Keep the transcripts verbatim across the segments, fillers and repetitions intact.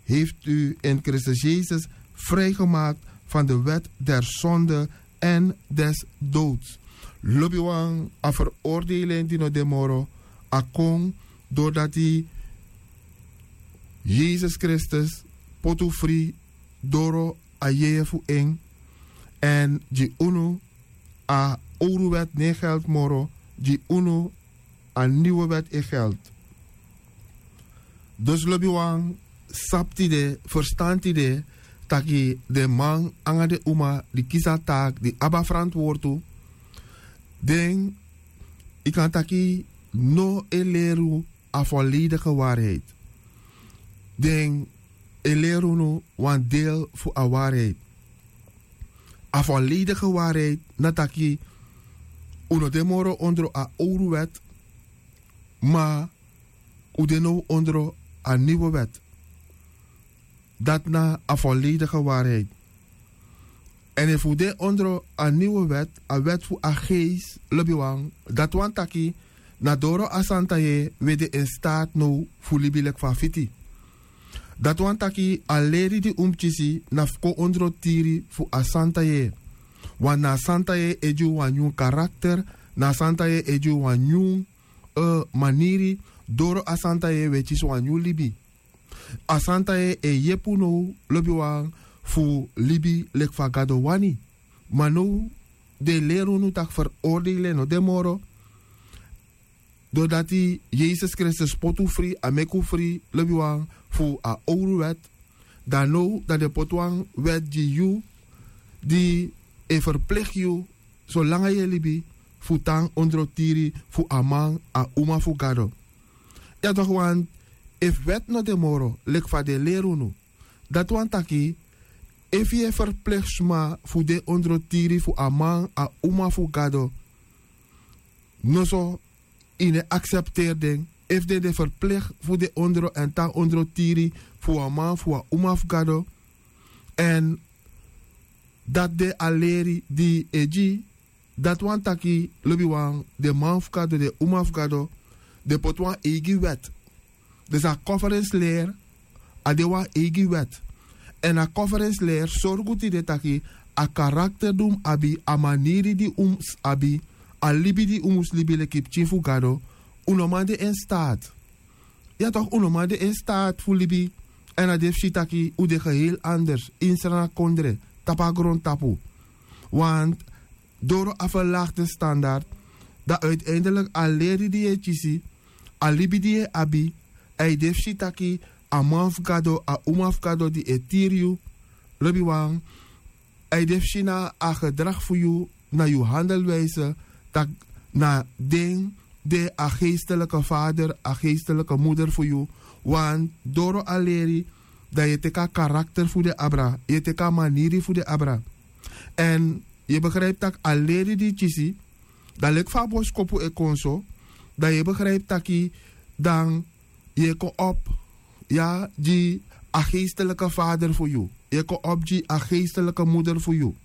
heeft u in Christus Jezus vrijgemaakt van de wet der zonde en des doods. Lobiwan, a veroordeling di no de moro, a kon doordat Jezus Christus poti unu fri doro a yeye fu en. Èn gi unu a owru wet no e geld moro, gi unu a niwe wet e geld. Dus lobiwan, sabi tide, ferstan tide, taki den man nanga den uma di kisi a taak, di abi a ferantwortu, den, yu kan taki, no e leri unu a volledige waarheid. Den e leri unu wan deel fu a waarheid. A volledige waarheid na taki un no de moro ondro a owru wet, ma un de now ondro a niwe wet. Dati na a volledige waarheid. Èn efu un de ondro a niwe wet, a wet fu a geest, lobiwan, dati wani taki na doro a santa yeye un e de in staat now fu libi leki fa a fiti. Dati wani taki a leri di un mus kisi na fu kon ondro tiri fu a santa yeye. Want na a santa yeye e gi un wan nyun karakter, na a santa yeye e gi un wan nyun, eh, maniri, doro a santa yeye un e kisi wan nyun libi. A santa yeye e yepi un now, lobiwan, fu libi leki fa Gado wani. Ma now den e leri unu taki veroordeling no de moro. Doordat Yesus Kristus poti un fri, a meki un fri, lobiwan, fu a owru wet. Dan now dan den poti wan wet gi yu di e ferpligi yu, solanga yu e libi, fu tan ondro tiri fu a man, a uma fu Gado. Ya toch, want efu wet no de moro, leki fa den leri unu, dati wani taki, efu yu e ferpligi sma fu de ondro tiri fu a man, a uma fu Gado, noso yu no e aksepteri den. Efu den de ferpligi fu de ondro èn tan ondro tiri fu a man, fu a uma fu Gado, èn dati de a leri di e gi, dati wani taki, lobiwan, den man fu Gado, den uma fu Gado, den poti wan eigi wet. Dus a conference leri, a de wan eigi wet. Èn a conference leri sorgu tide taki a karakter di un mus abi, a maniri di un mus abi, a libi di un mus libi leki pikin fu Gado, un no man de in staat. Ya toch, un no man de in staat fu libi èn a de fu si taki un de geheel anders, ini Sranan kondre, tapu a grontapu. Want doro a verlaagde standaard, dan uiteindelik a leri di yu e kisi, a libi di yu e abi, a e de fu si taki a man fu Gado, a uma fu Gado di e tiri yu, lobiwan, a e de fu si na a gedrag fu yu, na yu handelwijze, taki na den de a geestelijke vader, a geestelijke moeder fu yu. Want doro a leri, dan yu e teki a karakter fu den abra, yu e teki a maniri fu den abra. Èn yu e begrijpi taki a leri di yu kisi, dan leki fa a boskopu e kon so, dan yu e begrijpi taki dan yu e kon op, ya, gi a geestelijke vader fu yu. Yu e kon op gi a geestelijke moeder fu yu.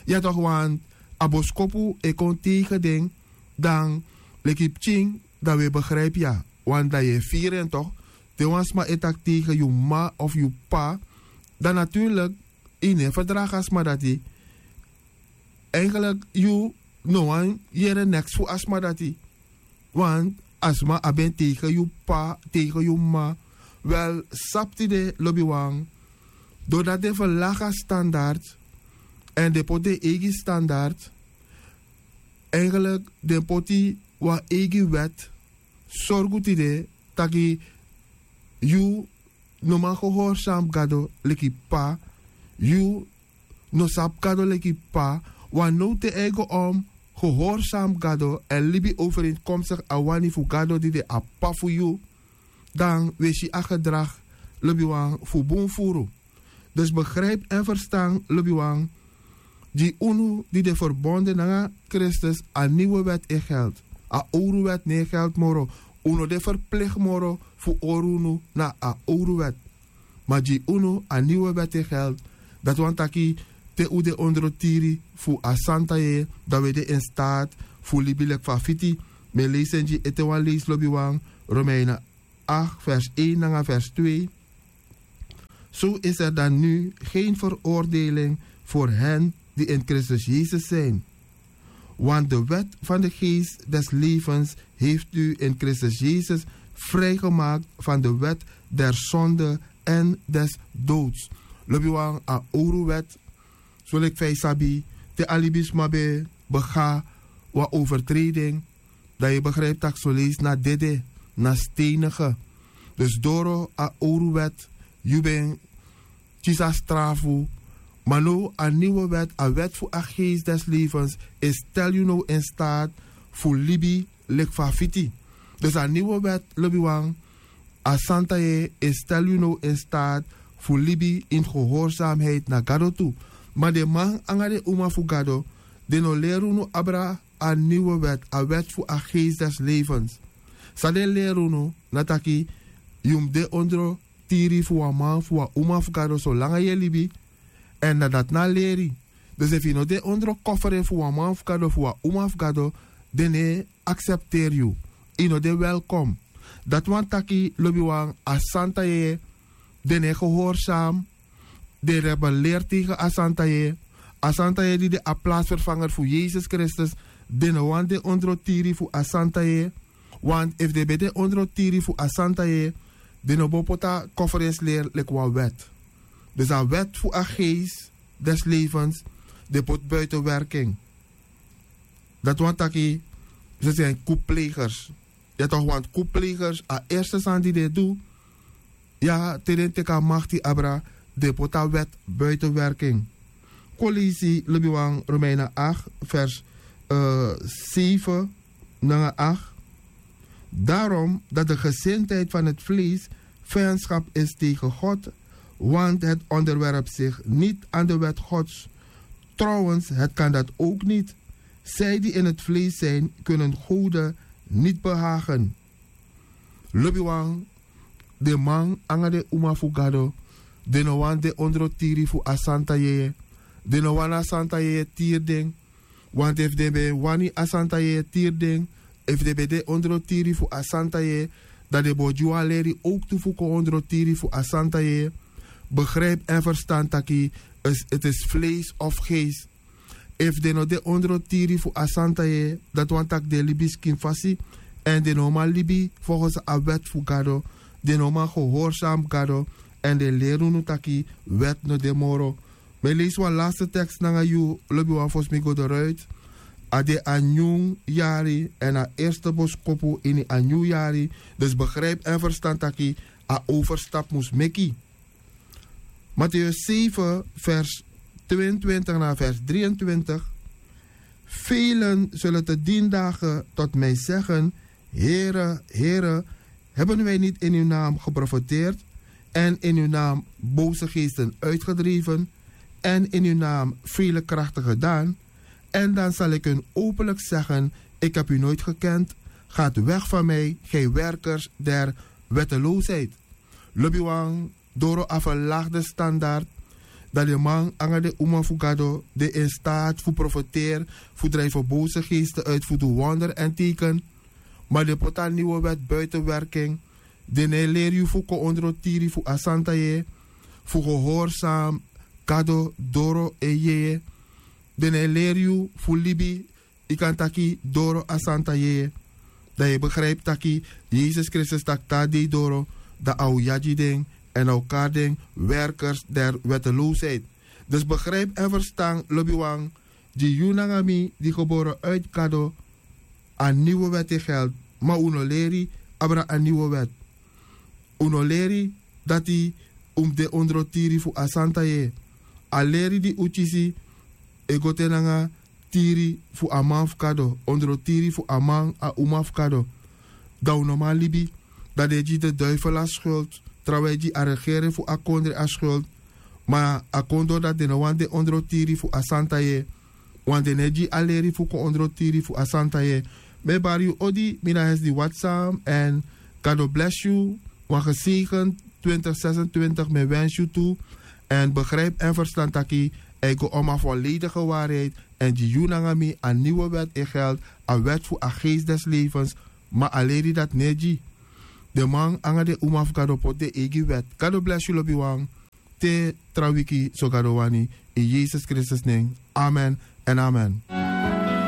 Ya toch, want a boskopu e kon tegen den, dan leki pikin, dan wi e begrijpi, ya. Want dan yu e firi en toch, te wan sma e taki tegen yu mama of yu papa, dan natuurlijk yu no e ferdragi a sma dati. Eigenlijk yu no wani yere neks fu a sma dati. Want a sma abi en tegen yu papa, tegen yu mama. Wel, sabi tide, lobiwan, doordat den verlaag a standaard èn den poti den eigi standaard, eigenlijk den poti wan eigi wet, sorgu tide taki yu no man gehorsam Gado leki papa, yu no sabi Gado leki papa. Want now te yu e go om gehorsam Gado èn libi overeenkomstig a wani fu Gado di de a papa fu yu, dan wi e si a gedrag, lobiwan, fu bun furu. Dus begrijpi èn ferstan, lobiwan, gi unu di de verbonden nanga Kristus, a niwe wet e geld. A owru wet no e geld moro. Un no de ferpligi moro fu hori unu na a owru wet. Ma gi unu a niwe wet e geld. Dati wani taki, te un de ondro tiri fu a santa yeye, dan wi e de in staat fu libi leki fa a fiti. Mi e leisi en gi ete wan leisi, lobiwan, Romeinen acht vers één nanga vers twee. Zo is er dan nu geen veroordeling voor hen die in Christus Jezus zijn. Want de wet van de geest des levens heeft u in Christus Jezus vrijgemaakt van de wet der zonde en des doods. Lobi wan a owru wet, soleki fa yu sabi, te a libisma ben bega wan overtreding, dan yu begrijpi tak' soleisi na dede, na steinige. Dus doro a owru wet yu ben kisi a strafu. Ma now a niwe wet, a wet fu a geest des levens, e stel yu now in staat fu libi leki fa a fiti. Dus a niwe wet, lobi wan, a santa yeye, e stel yu now in staat fu libi in gehoorzaamheid na Gado tu. Ma den man nanga den uma fu Gado, den no leri unu abra a niwe wet, a wet fu a geest des levens. San den leri unu na taki yu mus de ondro tiri fu wan man fu wan uma fu Gado solanga yu e libi. Èn na dati na a leri. Dus efu yu no de ondro kofre fu wan man fu Gado, fu wan uma fu Gado, den no e aksepteri yu. Yu no de welkom. Dati wani taki, lobi wan, a santa yeye, den no e gehorsam, den rebeleer tegen a santa yeye. A santa yeye di de a plaatsvervanger fu Yesus Kristus, den no wani de ondro tiri fu a santa yeye. Want efu den ben de ondro tiri fu a santa yeye, den no bo poti a kofrensleri leki wan wet. Dus a wet fu a geest des levens, den poti buiten werking. Dati wani taki, ze zijn koeplegers. Ya toch, want koeplegers, a eerste sani di den e du, ya, te den teki a makti abra, den poti a wet buiten werking. Kon leisi, lobi wan, Romeinen acht, vers, eh, zeven nanga acht. Daarom dat de gezindheid van het vlees vijandschap is tegen God, want het onderwerpt zich niet aan de wet Gods. Trouwens, het kan dat ook niet. Zij die in het vlees zijn, kunnen gode niet behagen. Lobi wan, den man nanga den uma fu Gado, den no wani de ondro tiri fu a santa yeye. Den no wani a santa yeye tiri den. Want efu den ben wani a santa yeye tiri den, efu den ben de ondro tiri fu a santa yeye, dan den bo gi wan leri owktu fu kon ondro tiri fu a santa yeye. Begrijp en verstan taki, het is vlees of geest. Efu den no de ondro tiri fu a santa yeye, dati wani taki den e libi skin fasi, èn den no man libi volgens a wet fu Gado, den no man gehorsam Gado, èn den leri unu taki wet no de moro. Mi e leisi wan laste tekst nanga yu, lobi wan, fosi mi go doruit. A de a nyun yari, èn a eerste boskopu ini a nyun yari. Dus begrijp en verstan taki a overstap mus meki. Mattheus zeven, vers tweeëntwintig na vers drieëntwintig. Velen zullen te dien dagen tot mij zeggen: Heere, Heere, hebben wij niet in uw naam geprofeteerd en in uw naam boze geesten uitgedreven en in uw naam vele krachten gedaan? En dan zal ik hun openlijk zeggen: Ik heb u nooit gekend. Gaat weg van mij, gij werkers der wetteloosheid. Lobi wan, doro a verlaagde standaard, dan den man nanga den uma fu Gado, den in staat fu profeteri, fu drijven boze geesten uit, fu du wonder èn teken. Ma den poti a niwe wet buiten werking. Den no e leri yu fu kon ondro tiri fu a santa yeye, fu gehorsam Gado doro en yeye. Den no e leri yu fu libi, yu kan taki, doro a santa yeye. Dan yu e begrijpi taki Yesus Kristus taki te a dei doro, dan a o yagi den, èn a o kari den werkers der wetteloosheid. Dus begrijp en verstan, lobi wan, gi yu nanga mi di gebore uit Gado, a niwe wet e geld, ma un no leri abra a niwe wet. Un no leri dati un mus de ondro tiri fu a santa yeye. A leri di un kisi e go te nanga tiri fu a man fu Gado, ondro tiri fu a man, a uma fu Gado. Dan un no man libi, dan den e gi den duifel a schuld, trawan e gi a regering fu a kondre a schuld. Ma a kon doro dati den no wani de ondro tiri fu a santa yeye. Want den no e gi a leri fu kon ondro tiri fu a santa yeye. Mi e bari yu odi, mi na Hesdy Watsam, èn Gado bless yu. Wan gezegend twintig zesentwintig mi e wensi yu tu. Èn begrijp en verstan taki a e go om a volledige waarheid, èn gi yu nanga mi a niwe wet e geld, a wet fu a geest des levens. Ma a leri dati no e gi. Den man nanga den uma fu Gado poti den eigi wet. Gado bless yu, lobi wan. te tra wiki so gado wani. In yesus kristus nen, amen. Èn amen.